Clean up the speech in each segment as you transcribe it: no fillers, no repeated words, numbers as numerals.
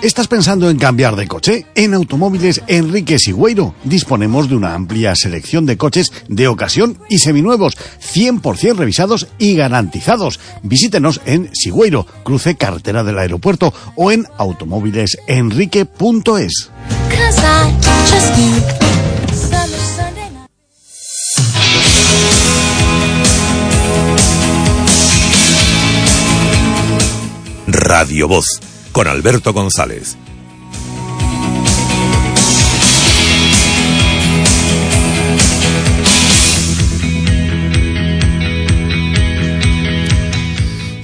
¿Estás pensando en cambiar de coche? En Automóviles Enrique Sigüeiro disponemos de una amplia selección de coches de ocasión y seminuevos, 100% revisados y garantizados. Visítenos en Sigüeiro, cruce carretera del aeropuerto, o en automóvilesenrique.es. Radio Voz, con Alberto González.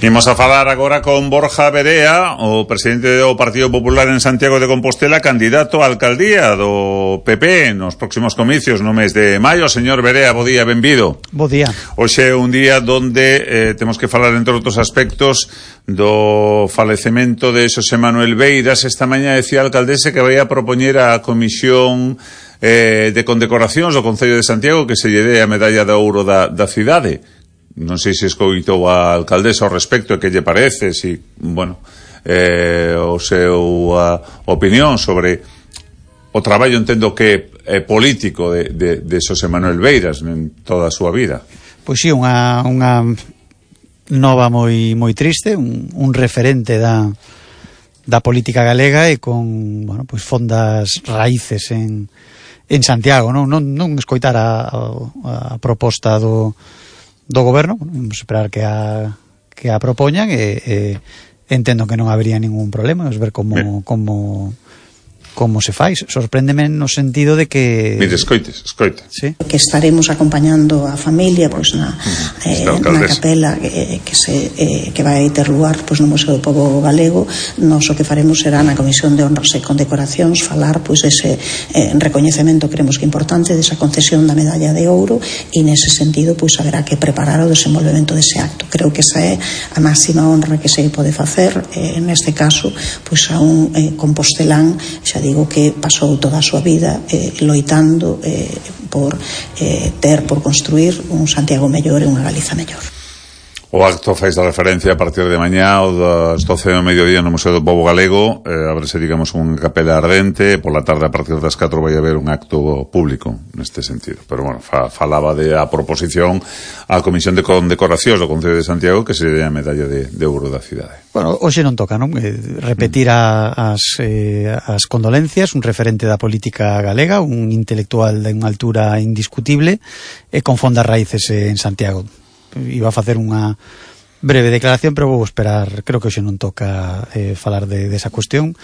Imos a falar agora con Borja Verea, o presidente do Partido Popular en Santiago de Compostela, candidato á alcaldía do PP nos próximos comicios no mes de maio. Señor Verea, bo día, benvido. Bo día. Hoxe é un día donde temos que falar, entre outros aspectos, do falecemento de Xosé Manuel Beiras. Esta mañá decía a alcaldese que vai a propoñer a comisión de condecoracións do Concello de Santiago que se lle dé a medalla de ouro da cidade. Non sei se escoitou a alcaldesa ao respecto e que lle parece, si, bueno, o seu opinión sobre o traballo, entendo que é político de Xosé Manuel Beiras en toda a súa vida. Pois si, unha nova moi triste, un referente da política galega e con, bueno, pois fondas raíces en Santiago, non escoitar a proposta do goberno. Vamos esperar que a propoñan e entendo que non habería ningún problema. Vamos ver como se fai. Sorpréndeme no sentido de que... Mire, escoita. Sí. Que estaremos acompañando a familia pois na capela que vai ter lugar pois no Museo do Pobo Galego. Nós o que faremos será na Comisión de Honras e Condecoracións falar pois ese recoñecemento, creemos que importante, desa concesión da medalla de ouro, e nese sentido pois haberá que preparar o desenvolvemento dese acto. Creo que esa é a máxima honra que se pode facer, neste caso pois a un compostelán, xa digo, que pasou toda a súa vida loitando por construir un Santiago mellor e unha Galiza mellor. O acto faz da referencia a partir de mañá ou das 12 do mediodía no Museo do Pobo Galego. Abrese, digamos, unha capela ardente. Por la tarde, a partir das 4, vai haber un acto público neste sentido. Pero, bueno, falaba de a proposición á Comisión de Condecoracións do Concello de Santiago que se dé a medalla de ouro da cidade. Bueno, hoxe non toca, non? Repetir as condolencias, un referente da política galega, un intelectual de unha altura indiscutible e con fondas raíces en Santiago. Iba a facer unha breve declaración, pero vou esperar. Creo que hoxe non toca falar desa cuestión.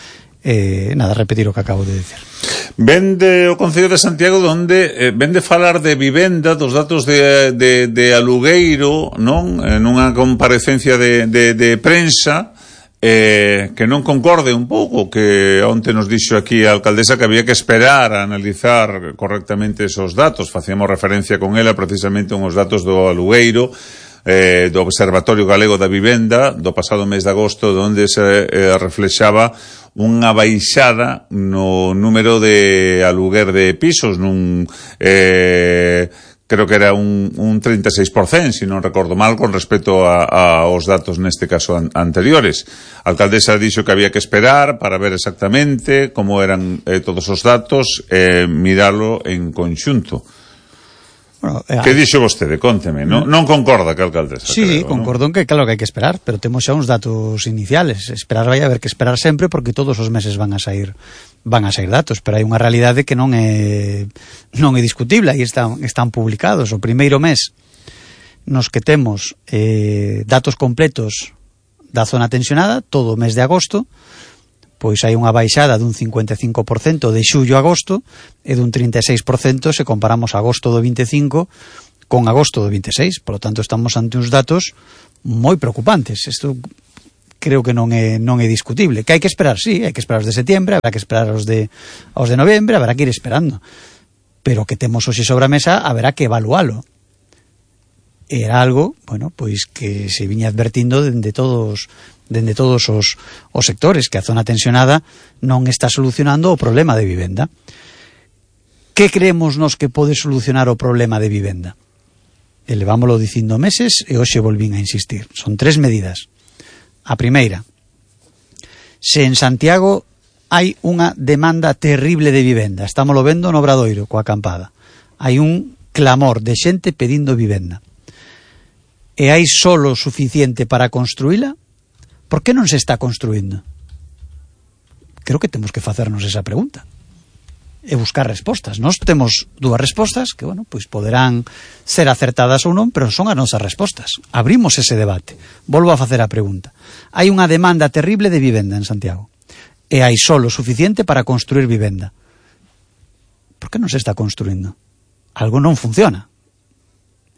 Nada, repetir o que acabo de decir. Vende o Concello de Santiago donde vende falar de vivenda, dos datos de alugueiro, non? Nunha comparecencia de prensa, que non concorde un pouco, que onte nos dixo aquí a alcaldesa que había que esperar a analizar correctamente esos datos. Facíamos referencia con ela precisamente uns datos do alugueiro do Observatorio Galego da Vivenda do pasado mes de agosto, onde se reflexaba unha baixada no número de aluguer de pisos, creo que era un 36%, se non recordo mal, con respecto aos datos neste caso anteriores. A alcaldesa dixo que había que esperar para ver exactamente como eran todos os datos e miralo en conxunto. Bueno, que dixo vostede? Cónteme, non concorda que a alcaldesa? Sí, concordo en que claro que hai que esperar, pero temos xa uns datos iniciales. Esperar vai haber que esperar sempre, porque todos os meses van a sair datos, pero hai unha realidade que non é discutible. Aí están publicados. O primeiro mes nos que temos datos completos da zona tensionada, todo o mes de agosto, pois hai unha baixada dun 55% de xullo a agosto e dun 36% se comparamos agosto do 25 con agosto do 26. Por lo tanto, estamos ante uns datos moi preocupantes. Isto creo que non é discutible. Que hai que esperar, sí, hai que esperar os de setiembre, habrá que esperar os de novembro, habrá que ir esperando. Pero que temos hoxe sobre a mesa, haberá que evalualo. Era algo, bueno, pois que se viña advertindo dende todos os sectores, que a zona tensionada non está solucionando o problema de vivenda. Que creemos nos que pode solucionar o problema de vivenda? Elevámoslo dicindo meses e hoxe volvín a insistir. Son 3 medidas. A primeira, se en Santiago hai unha demanda terrible de vivenda. Estamos lo vendo no Obradoiro, coa acampada. Hai un clamor de xente pedindo vivenda. E hai solo suficiente para construíla? Por que non se está construindo? Creo que temos que facernos esa pregunta e buscar respostas. Nós temos dúas respostas que, bueno, pois poderán ser acertadas ou non, pero son as nosas respostas. Abrimos ese debate. Volvo a facer a pregunta. Hai unha demanda terrible de vivenda en Santiago e hai solo suficiente para construir vivenda. Por que non se está construindo? Algo non funciona.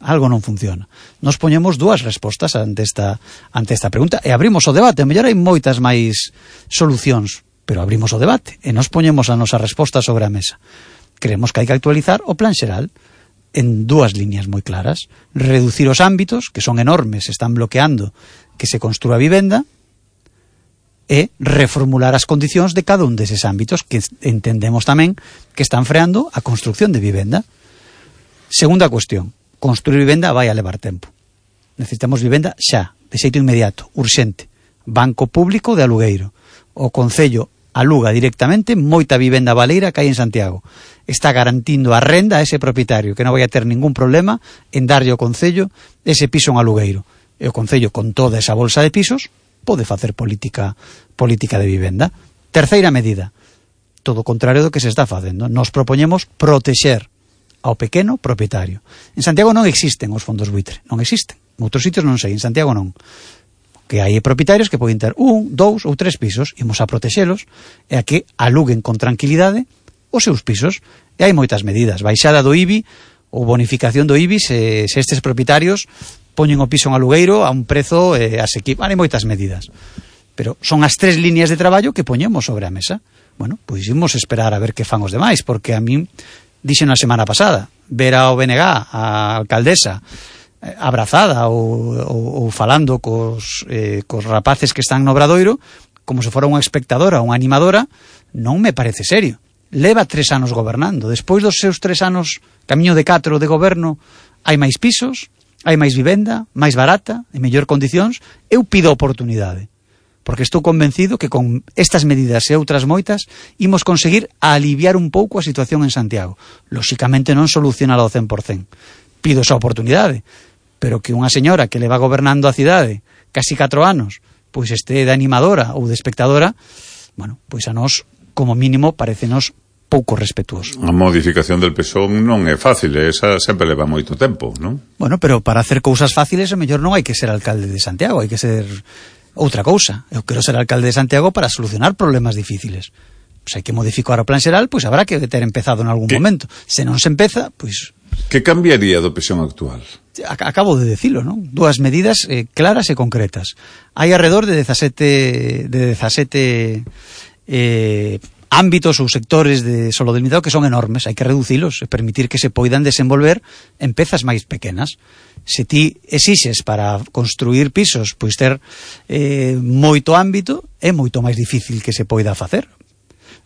Algo non funciona. Nos poñemos dúas respostas ante esta pregunta e abrimos o debate. A mellor hai moitas máis solucións, pero abrimos o debate e nos poñemos a nosa resposta sobre a mesa. Creemos que hai que actualizar o plan xeral en dúas líneas moi claras. Reducir os ámbitos, que son enormes, están bloqueando que se construa vivenda, e reformular as condicións de cada un deses ámbitos que entendemos tamén que están freando a construcción de vivenda. Segunda cuestión, construir vivenda vai a levar tempo. Necesitamos vivenda xa, de xeito inmediato, urxente. Banco público de alugueiro. O Concello aluga directamente moita vivenda baleira que hai en Santiago. Está garantindo a renda a ese propietario, que non vai a ter ningún problema en darlle ao Concello ese piso en alugueiro. E o Concello, con toda esa bolsa de pisos, pode facer política de vivenda. Terceira medida, todo o contrario do que se está facendo. Nos propoñemos protexer ao pequeno propietario. En Santiago non existen os fondos buitre, non existen. En outros sitios non sei, en Santiago non. Que hai propietarios que poden ter 1, 2 ou 3 pisos, imos a protexelos e a que aluguen con tranquilidade os seus pisos. E hai moitas medidas, baixada do IBI ou bonificación do IBI se estes propietarios poñen o piso en alugueiro a un prezo asequible. Hai moitas medidas, pero son as 3 líneas de traballo que poñemos sobre a mesa. Bueno, pois imos esperar a ver que fan os demais, porque a min dixen a semana pasada, ver ao BNG, a alcaldesa abrazada ou falando cos rapaces que están no Obradoiro como se fora unha espectadora, unha animadora, non me parece serio. Leva 3 anos gobernando. Despois dos seus 3 anos, camiño de 4 de goberno, hai máis pisos, hai máis vivenda, máis barata, en mellor condicións. Eu pido oportunidade, porque estou convencido que con estas medidas e outras moitas imos conseguir aliviar un pouco a situación en Santiago. Lóxicamente non solucionar ao 100%. Pido esa oportunidade, pero que unha señora que leva gobernando a cidade casi 4 anos, pois este de animadora ou de espectadora, bueno, pois a nós, como mínimo, parecenos pouco respetuoso. A modificación del PSOE non é fácil, esa sempre leva moito tempo, non? Bueno, pero para hacer cousas fáciles, a mellor non hai que ser alcalde de Santiago, hai que ser outra cousa. Eu quero ser alcalde de Santiago para solucionar problemas difíciles. Pois hai que modificar o plan xeral, pois habrá que ter empezado en algún momento. Se non se empeza, pois... Que cambiaría do PSOE actual? Acabo de decilo, non? 2 medidas claras e concretas. Hai alrededor de 17 ámbitos ou sectores de solo delimitado que son enormes, hai que reducilos e permitir que se poidan desenvolver en pezas máis pequenas. Se ti exixes para construir pisos, pois ter moito ámbito, é moito máis difícil que se poida facer.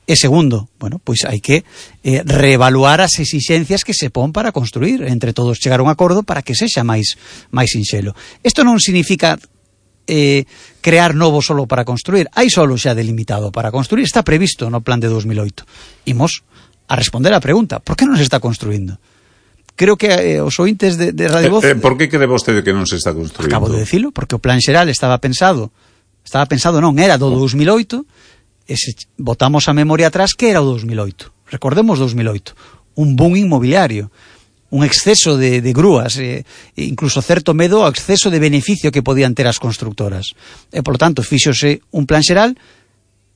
E segundo, bueno, pois hai que reevaluar as exixencias que se pon para construir, entre todos chegar a un acordo para que sexa máis sinxelo. Isto non significa crear novo solo para construir, hai solo xa delimitado para construir, está previsto no plan de 2008. Imos a responder a pregunta, por que non se está construindo? Creo que os ointes de Radio Voz... Por que cree vostede que non se está construindo? Acabo de decilo, porque o plan xeral estaba pensado non, era do 2008, e se botamos a memoria atrás, que era o 2008? Recordemos 2008, un boom inmobiliario, un exceso de grúas, incluso certo medo ao exceso de beneficio que podían ter as constructoras. E, por lo tanto, fíxose un plan xeral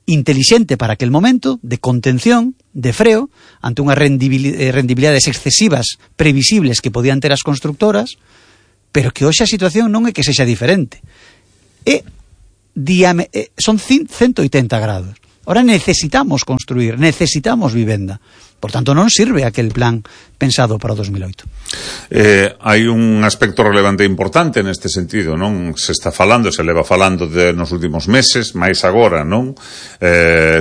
intelixente para aquel momento, de contención, de freo, ante unhas rendibilidades excesivas, previsibles que podían ter as constructoras, pero que hoxe a situación non é que sexa diferente. Son 180 grados. Ahora necesitamos construir, necesitamos vivenda. Por tanto, non sirve aquel plan pensado para o 2008. Hai un aspecto relevante e importante neste sentido, non? Se está falando, se leva falando nos últimos meses, máis agora, non?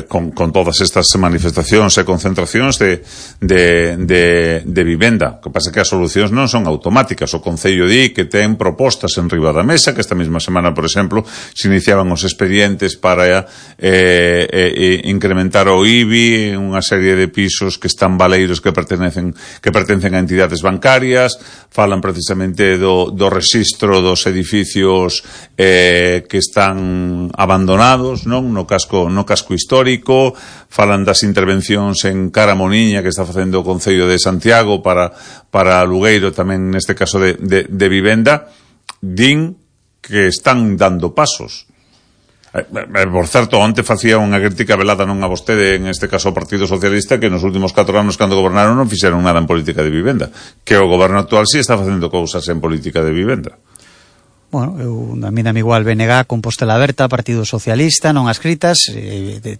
Con todas estas manifestacións e concentracións de vivenda. O que pasa é que as solucións non son automáticas. O Concello di que ten propostas en riba da mesa, que esta mesma semana, por exemplo, se iniciaban os expedientes para incrementar o IBI en unha serie de pisos que están baleiros que pertencen a entidades bancarias, falan precisamente do rexistro dos edificios que están abandonados, non? No casco histórico, falan das intervencións en Caramoniña que está facendo o Concello de Santiago para Lugueiro, tamén neste caso de vivenda. Din que están dando pasos. Por certo, onte facía unha crítica velada non a vostede, en este caso ao Partido Socialista, que nos últimos 4 anos cando gobernaron non fixeron nada en política de vivenda, que o goberno actual sí está facendo cousas en política de vivenda. Bueno, a mí dame igual BNG, Compostela Aberta, Partido Socialista, non as escritas,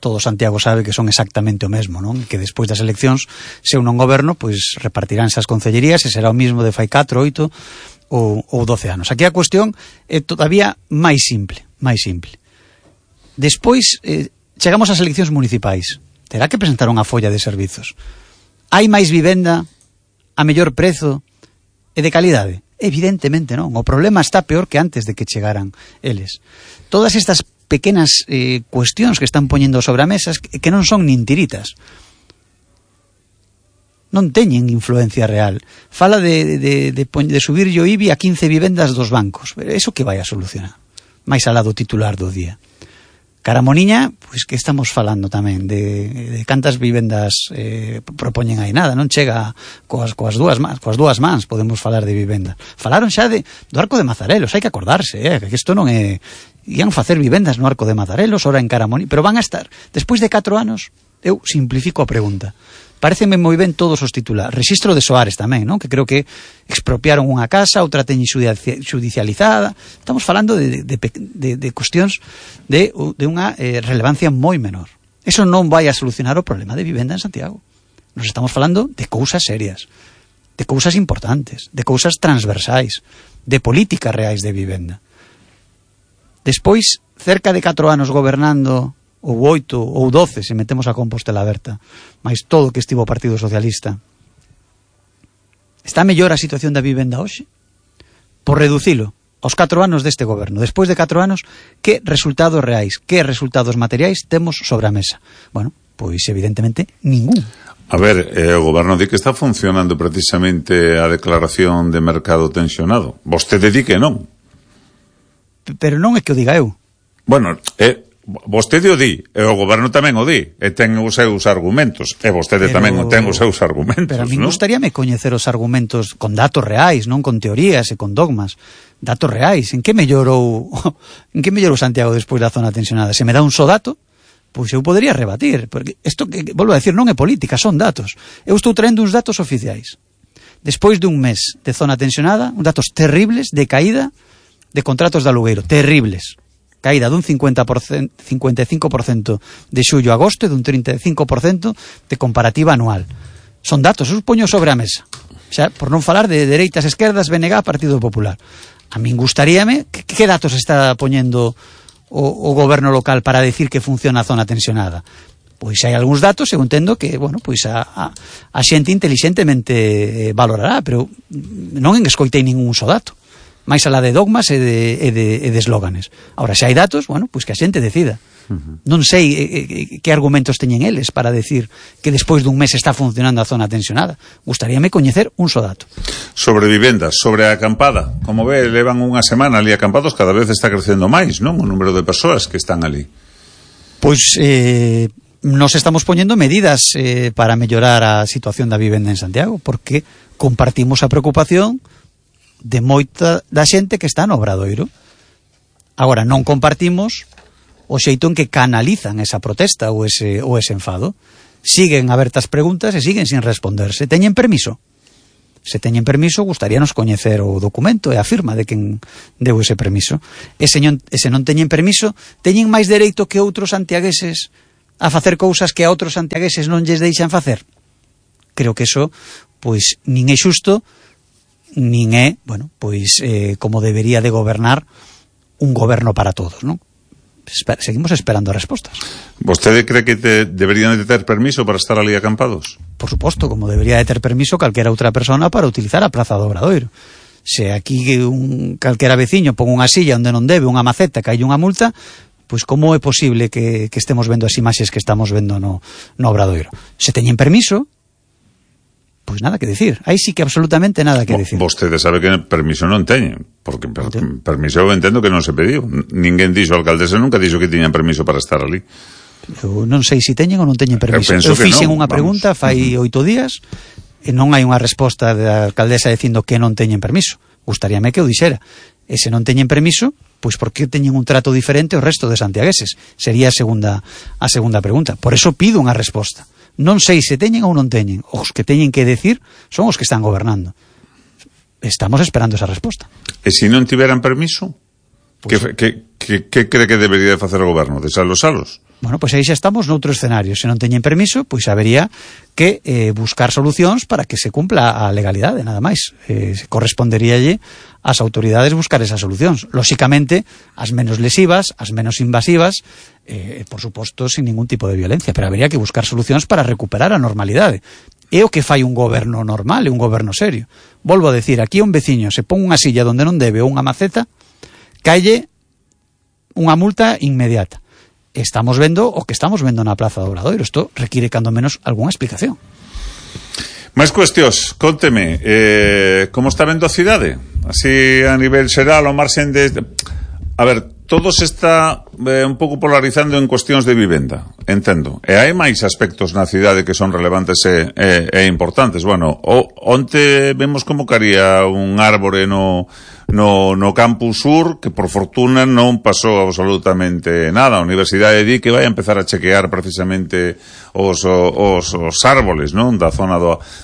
todo Santiago sabe que son exactamente o mesmo, non? Que despois das eleccións, se un non goberno, pois repartiránse as concellerías e será o mismo de fai 4, 8 ou 12 anos. Aquí a cuestión é todavía máis simple. Despois, chegamos ás eleccións municipais. Terá que presentar unha folla de servizos. Hai máis vivenda a mellor prezo e de calidade? Evidentemente non. O problema está peor que antes de que chegaran eles. Todas estas pequenas cuestións que están poñendo sobre a mesa que non son nin tiritas. Non teñen influencia real. Fala de subir o IBI a 15 vivendas dos bancos. Eso que vai a solucionar? Mais alá do titular do día. Caramoniña, pois que estamos falando tamén de cantas vivendas propoñen aí, nada, non chega coas dúas mans podemos falar de vivenda. Falaron xa do Arco de Mazarelos, hai que acordarse, que isto non é, ian facer vivendas no Arco de Mazarelos, ora en Caramoniña, pero van a estar despois de 4 anos. Eu simplifico a pregunta. Pareceme moi ben todos os titulares. Rexistro de Soares tamén, non? Que creo que expropiaron unha casa, outra teñen judicializada. Estamos falando de cuestións de unha relevancia moi menor. Eso non vai a solucionar o problema de vivenda en Santiago. Nos estamos falando de cousas serias, de cousas importantes, de cousas transversais, de políticas reais de vivenda. Despois, cerca de 4 anos gobernando, ou 8 ou 12 se metemos a Compostela Aberta, máis todo que estivo o Partido Socialista, está mellor a situación da vivenda hoxe? Por reducilo aos 4 anos deste goberno, despois de 4 anos, que resultados reais, que resultados materiais temos sobre a mesa? Bueno, pois evidentemente ningún. A ver, o goberno di que está funcionando precisamente a declaración de mercado tensionado. Vostede di que non. Pero non é que o diga eu. Bueno, vostede o di, e o goberno tamén o di, e ten os seus argumentos, e vostede tamén ten os seus argumentos. Pero a mí gustaríame coñecer os argumentos con datos reais, non con teorías e con dogmas. Datos reais. En que mellorou Santiago despois da zona tensionada? Se me dá un só dato, pois eu podería rebatir, porque isto que volvo a decir non é política, son datos. Eu estou traendo uns datos oficiais. Despois dun mes de zona tensionada, uns datos terribles de caída de contratos de alugueiro, terribles. Caída dun 55% de xullo a agosto e dun 35% de comparativa anual. Son datos, os poño sobre a mesa. Xa, por non falar de dereitas, esquerdas, BNG, Partido Popular. A min gustaríame, que datos está poñendo o goberno local para decir que funciona a zona tensionada? Pois hai algúns datos, eu entendo que, bueno, pois a xente inteligentemente valorará, pero non escoitei ningún só dato. máis alá de dogmas e de eslóganes. Ahora, se hai datos, bueno, pois que a xente decida. Non sei que argumentos teñen eles para decir que despois dun mes está funcionando a zona tensionada. Gustaríame coñecer un só dato. Sobre vivendas, sobre a acampada, como ve, levan unha semana ali acampados, cada vez está crecendo máis, non? O número de persoas que están ali. Pois nos estamos poñendo medidas para mellorar a situación da vivenda en Santiago, porque compartimos a preocupación de moita da xente que está no Obradoiro. Agora, non compartimos o xeito en que canalizan esa protesta ou ese enfado. Siguen abertas preguntas e siguen sin responderse. Teñen permiso? Se teñen permiso, gustaríanos coñecer o documento e a firma de quen deu ese permiso. E se non teñen permiso, teñen máis dereito que outros santiagueses a facer cousas que a outros santiagueses non lles deixan facer? creo que eso pois nin é xusto, nin é, bueno, pois como debería de gobernar un goberno para todos, non? Seguimos esperando respostas. ¿Vostede cree que deberían de ter permiso para estar ali acampados? Por suposto, como debería de ter permiso calquera outra persona para utilizar a Praza do Obradoiro. Se aquí calquera veciño pon unha silla onde non debe, unha maceta, que hai unha multa, pois como é posible que estemos vendo as imaxes que estamos vendo no Obradoiro? Se teñen permiso, pois nada que decir. Aí sí que absolutamente nada que decir. Vostede sabe que permiso non teñen, porque permiso eu entendo que non se pediu. Ninguén dixo, a alcaldesa nunca dixo que tiñan permiso para estar ali. Eu non sei se teñen ou non teñen permiso. Eu fixen unha pregunta fai 8 días e non hai unha resposta da alcaldesa dicindo que non teñen permiso. Gustaríame que o dixera. E se non teñen permiso, pois por que teñen un trato diferente ao resto de santiagueses? Sería a segunda pregunta. Por eso pido unha resposta. Non sei se teñen ou non teñen. Os que teñen que decir son os que están gobernando. Estamos esperando esa resposta. E se non tiveran permiso, pues, que cree que debería de facer o goberno? Salos? Bueno, pois aí xa estamos noutro escenario. Se non teñen permiso, pois habería que buscar solucións para que se cumpla a legalidade, nada máis. Corresponderíalle ás autoridades buscar esas solucións. Lóxicamente, as menos lesivas, as menos invasivas, por suposto, sin ningún tipo de violencia, pero habería que buscar solucións para recuperar a normalidade. É o que fai un goberno normal, é un goberno serio. Volvo a decir, aquí un veciño se pon unha silla onde non debe ou unha maceta, calle unha multa inmediata. Estamos vendo o que estamos vendo na Praza do Obradoiro. Isto require, cando menos, algunha explicación. Máis cuestións, conteme, como está vendo a cidade? Así a nivel xeral, ao marxen de... A ver, todo se está un pouco polarizando en cuestións de vivenda, entendo. E hai máis aspectos na cidade que son relevantes e importantes. Bueno, onte vemos como caría un árbore no campus sur, que por fortuna non pasou absolutamente nada. A Universidade di que vai a empezar a chequear precisamente os árboles, non? Da zona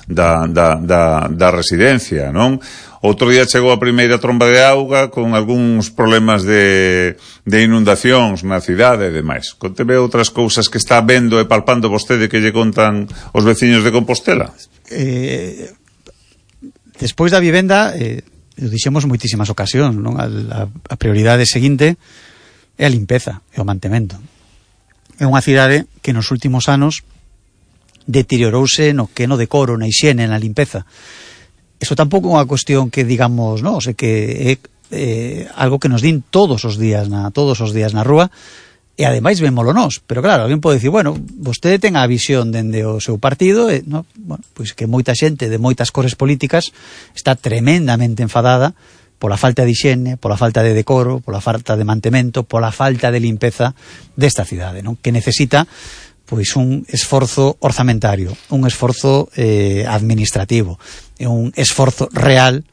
da residencia, non? Outro día chegou a primeira tromba de auga con algúns problemas de inundacións na cidade e demais. Conteme outras cousas que está vendo e palpando vostede que lle contan os veciños de Compostela. Despois da vivenda, o dixemos moitísimas ocasións, non? A prioridade seguinte é a limpeza e o mantemento. É unha cidade que nos últimos anos deteriorouse no que no decoro, na hixiene, na limpeza. Eso tampouco é unha cuestión que digamos, non, o sea, que é algo que nos din todos os días na rúa, e ademais vémolo nós. Pero claro, alguén pode dicir, bueno, vostede ten a visión dende o seu partido, no, bueno, pois que moita xente de moitas cores políticas está tremendamente enfadada pola falta de hixiene, pola falta de decoro, pola falta de mantemento, pola falta de limpeza desta cidade, non? Que necesita pois un esforzo orzamentario, un esforzo administrativo, un esforzo real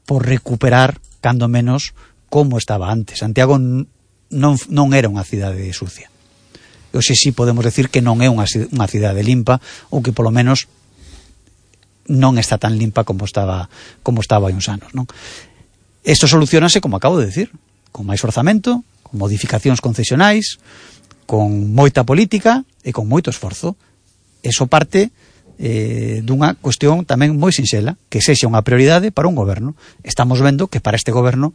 por recuperar, cando menos, como estaba antes. Santiago non era unha cidade sucia. Hoxe sí podemos decir que non é unha cidade limpa, ou que polo menos non está tan limpa como estaba hai uns anos, non? Isto solucionase, como acabo de decir, con máis orzamento, con modificacións concesionais, con moita política e con moito esforzo. Eso parte dunha cuestión tamén moi sinxela, que sexa unha prioridade para un goberno. Estamos vendo que para este goberno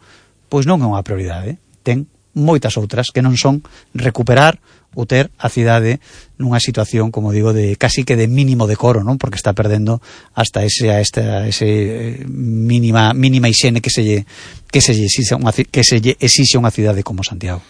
pois non é unha prioridade, ten moitas outras que non son recuperar ou ter a cidade nunha situación, como digo, de casi que de mínimo decoro, non? Porque está perdendo hasta ese mínima hixiene que se lle exixe unha cidade como Santiago.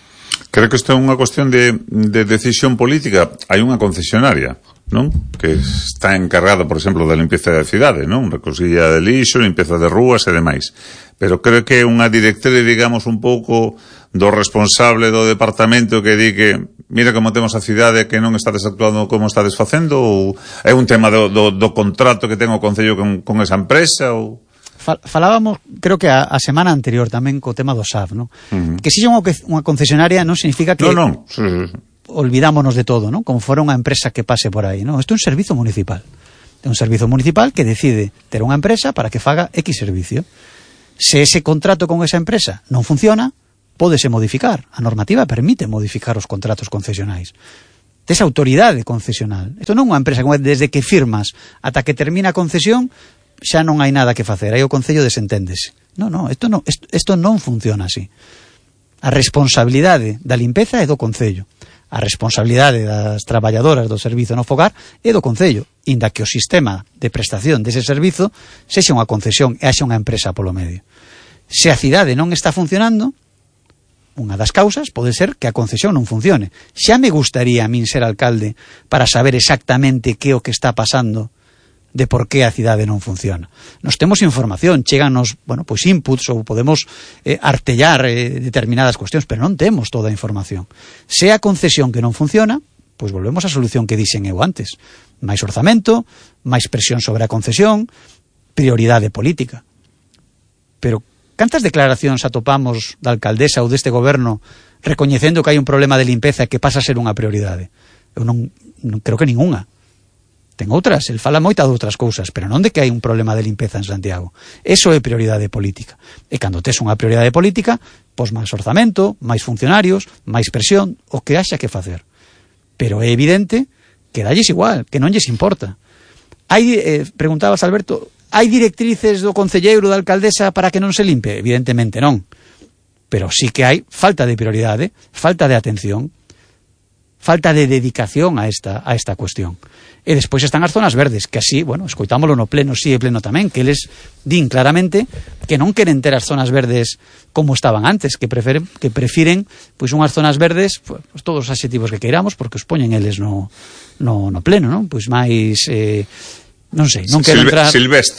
Creo que isto é unha cuestión de decisión política. Hai unha concesionaria, non? Que está encargada, por exemplo, da limpieza da cidade, non? Recosilla de lixo, limpieza de rúas e demais. Pero creo que é unha directriz, digamos, un pouco do responsable do departamento que di que mira como temos a cidade que non estades actuando como estades facendo, ou é un tema do contrato que ten o Concello con esa empresa, ou... Falábamos, creo que a semana anterior tamén co tema do SAF, non? Que se unha concesionaria non significa que non. Sí. Olvidámonos de todo, non? Como fora unha empresa que pase por aí, non? Isto é un servizo municipal. É un servizo municipal que decide ter unha empresa para que faga X servicio. Se ese contrato con esa empresa non funciona, pódese modificar. A normativa permite modificar os contratos concesionais. tes autoridade concesional. Isto non é unha empresa como desde que firmas ata que termina a concesión xa non hai nada que facer, aí o Concello desenténdese. Non, isto non funciona así. A responsabilidade da limpeza é do Concello. A responsabilidade das traballadoras do servizo no fogar é do Concello, inda que o sistema de prestación dese servizo sexa unha concesión e haxa unha empresa polo medio. Se a cidade non está funcionando, unha das causas pode ser que a concesión non funcione. Xa me gustaría a min ser alcalde para saber exactamente que é o que está pasando de por que a cidade non funciona. Nos temos información, cheganos, pois inputs ou podemos artellar determinadas cuestións, pero non temos toda a información. Se a concesión que non funciona, pois volvemos á solución que dixen eu antes. Máis orzamento, máis presión sobre a concesión, prioridade política. Pero cantas declaracións atopamos da alcaldesa ou deste goberno recoñecendo que hai un problema de limpeza que pasa a ser unha prioridade? Eu non creo que ninguna. Ten outras, el fala moita de outras cousas, pero non de que hai un problema de limpeza en Santiago. Eso é prioridade política. E cando tes unha prioridade política, pois máis orzamento, máis funcionarios, máis presión, o que haxa que facer. Pero é evidente que dalles igual, que non lles importa. Preguntabas, Alberto, hai directrices do concelleiro, da alcaldesa para que non se limpe? Evidentemente non. Pero sí que hai falta de prioridade, falta de atención, falta de dedicación a esta cuestión. E despois están as zonas verdes, que así, escoitámolo no pleno, sí e pleno tamén, que eles din claramente que non queren ter as zonas verdes como estaban antes, que prefiren pois unhas zonas verdes, pois todos os adxetivos que queiramos, porque os poñen eles no pleno, non? Pois máis non sei, non quero entrar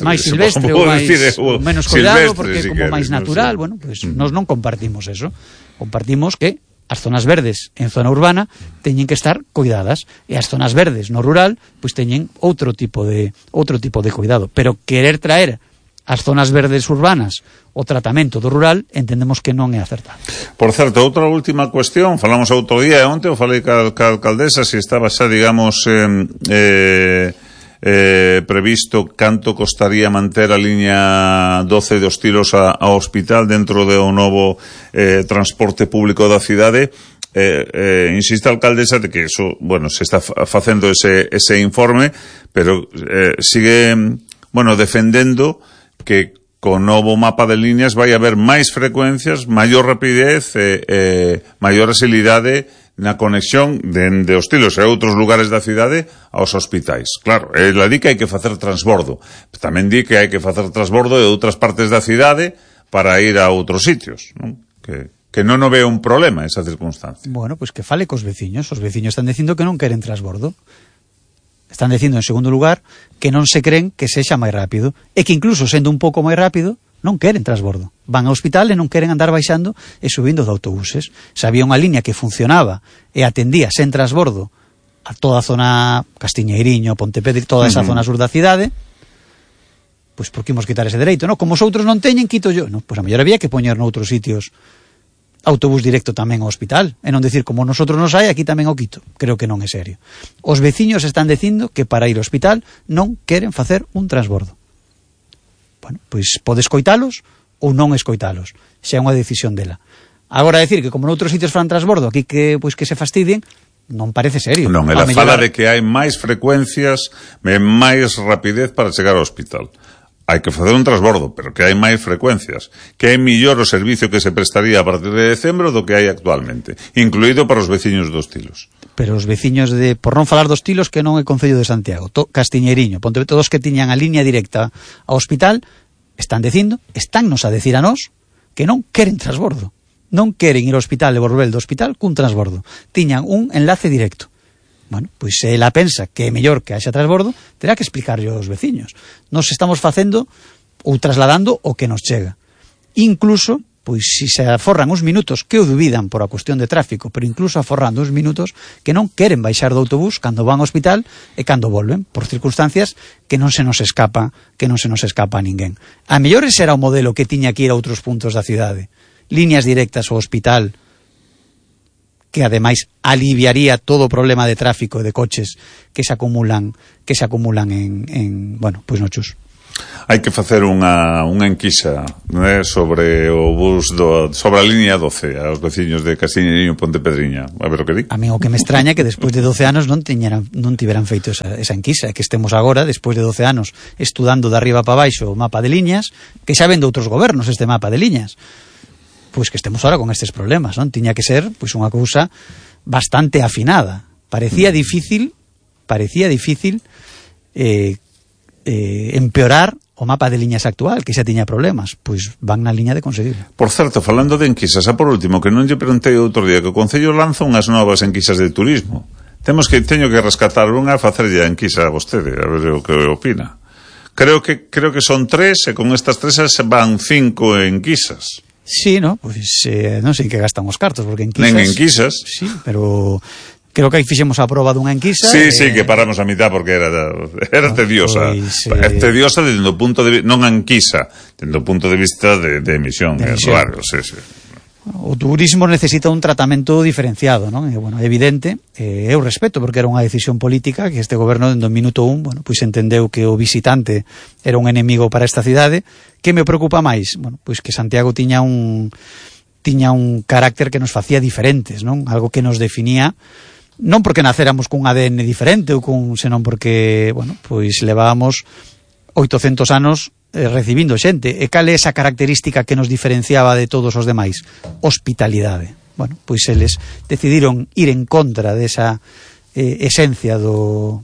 máis silvestre ou menos cuidado, porque como máis natural, pois nós non compartimos eso. Compartimos que as zonas verdes en zona urbana teñen que estar cuidadas e as zonas verdes no rural pois teñen outro tipo de cuidado, pero querer traer as zonas verdes urbanas o tratamento do rural entendemos que non é acertado. Por certo, outra última cuestión, falamos outro día e onte eu falei ca alcaldesa se estaba xa, digamos, previsto canto costaría manter a liña 12 dos Tilos ao hospital dentro do novo transporte público da cidade. Insiste a alcaldesa de que eso, se está facendo ese informe, pero sigue, defendendo que con novo mapa de líneas vai haber máis frecuencias, maior rapidez e maior agilidade na conexión de os Tilos e outros lugares da cidade aos hospitais. Claro, ela di que hai que facer transbordo, tamén di que hai que facer transbordo de outras partes da cidade para ir a outros sitios, non? Que non o ve un problema esa circunstancia. Pois que fale cos veciños. Os veciños están dicindo que non queren transbordo. Están dicindo, en segundo lugar, que non se creen que sexa máis rápido e que incluso sendo un pouco máis rápido non queren transbordo. Van ao hospital e non queren andar baixando e subindo de autobuses. Se había unha liña que funcionaba e atendía sen transbordo a toda a zona Castiñeiriño, Pontepedre, toda esa zona sur da cidade, pois por que imos quitar ese dereito, non? Como os outros non teñen, quito yo. Pois a mellor había que poñer noutros sitios autobús directo tamén ao hospital, e non dicir como nosotros nos hai, aquí tamén o quito. Creo que non é serio. Os veciños están dicindo que para ir ao hospital non queren facer un transbordo. Pois pode escoitalos ou non escoitalos, xa é unha decisión dela. Agora decir que como noutros sitios fan transbordo, aquí que se fastidien, non parece serio. Non, ela fala de que hai máis frecuencias e máis rapidez para chegar ao hospital. Hai que facer un transbordo, pero que hai máis frecuencias, que é mellor o servicio que se prestaría a partir de decembro do que hai actualmente, incluído para os veciños dos Tilos. Pero os veciños por non falar dos Tilos, que non é Concello de Santiago, Castiñeiriño, Pontevedra, todos que tiñan a liña directa ao hospital, estánnos a decir a nós que non queren transbordo. Non queren ir ao hospital e volver do hospital cun transbordo. Tiñan un enlace directo. Pois se ela pensa que é mellor que haxa transbordo, terá que explicarlle aos veciños. Nos estamos facendo ou trasladando o que nos chega. Incluso, pois se aforran uns minutos, que o dubidan por a cuestión de tráfico, pero incluso aforrando uns minutos que non queren baixar do autobús cando van ao hospital e cando volven, por circunstancias que non se nos escapa a ninguén. A mellor ese era o modelo que tiña que ir a outros puntos da cidade. Líneas directas ao hospital, que ademais aliviaría todo o problema de tráfico e de coches que se acumulan en no Chus. Hai que facer unha enquisa, né, sobre o bus sobre a línea 12 aos veciños de Casiñariño, Pontepedriña, a ver o que di. A mí o que me extraña é que despois de 12 anos non tiveran feito esa enquisa, que estemos agora, despois de 12 anos, estudando de arriba para baixo o mapa de liñas, que xa ven de outros gobernos este mapa de liñas. Pois que estemos ahora con estes problemas, non? Tiña que ser pois unha cousa bastante afinada. Parecía difícil empeorar o mapa de liñas actual, que xa tiña problemas, pois van na liña de conseguir. Por certo, falando de enquisas, por último, que non lle preguntei outro día, que o Concello lanza unhas novas enquisas de turismo. Teño que rescatar unha e facerlle a enquisa a vostede, a ver o que opina. Creo que son 3, e con estas 3 van 5 enquisas. Sí, no? Pois non sei que gastan os cartos, porque enquisas... Nen enquisas. Sí, pero... Creo que aí fixemos a proba dunha enquisa. Sí, que paramos a mitad porque era tediosa. Pois, tediosa desde o punto de vista, non a enquisa, desde o punto de vista de emisión, claro, sí. O turismo necesita un tratamento diferenciado, non? E, bueno, é evidente, eu respeto, porque era unha decisión política que este goberno, dende o minuto 1, bueno, pois entendeu que o visitante era un enemigo para esta cidade. Que me preocupa máis? Bueno, pois que Santiago tiña un carácter que nos facía diferentes, non? Algo que nos definía, non porque nacéramos cun ADN diferente, senón porque, bueno, pois levábamos 800 anos recibindo xente. E cal é esa característica que nos diferenciaba de todos os demais? Hospitalidade. Bueno, pois eles decidiron ir en contra desa esencia do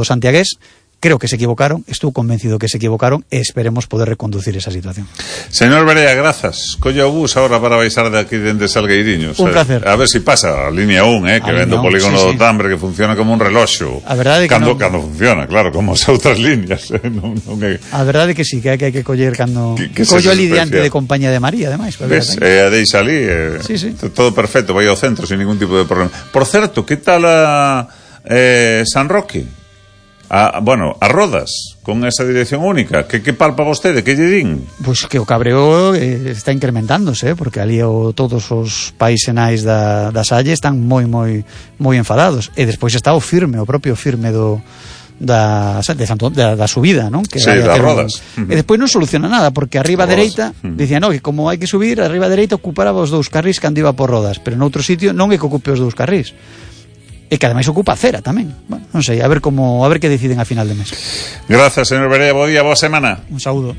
santiagués. Creo que se equivocaron, estou convencido que se equivocaron, e esperemos poder reconducir esa situación. Señor Berea, grazas. Colla o bus ahora para baixar de aquí dende Salgueiriños. Un placer. A ver si pasa a línea 1, que vende o polígono do Tambre, que funciona como un reloxo. A verdade que cando funciona, claro, como as outras líneas. A verdade que sí, que hai que coller cando... Collo ali diante de Compañía de María, además. Ves, a deixa ali, todo perfecto, vai ao centro, sin ningún tipo de problema. Por certo, que tal a San Roque? A Rodas, con esa dirección única, que palpa vostede, que lle din? Pois que o cabreo está incrementándose, porque ali todos os paisenais da Salle están moi enfadados, e despois está o propio firme da subida, non? Que sí, das Rodas. E despois non soluciona nada, porque arriba dereita dicían, que como hai que subir, arriba dereita ocuparaba os 2 carrís cando iba por Rodas, pero noutro sitio non é que ocupe os 2 carrís. E que ademais ocupa a acera tamén. Bueno, non sei, a ver que deciden a final de mes. Grazas, señor Berea, bo día, boa semana. Un saúdo.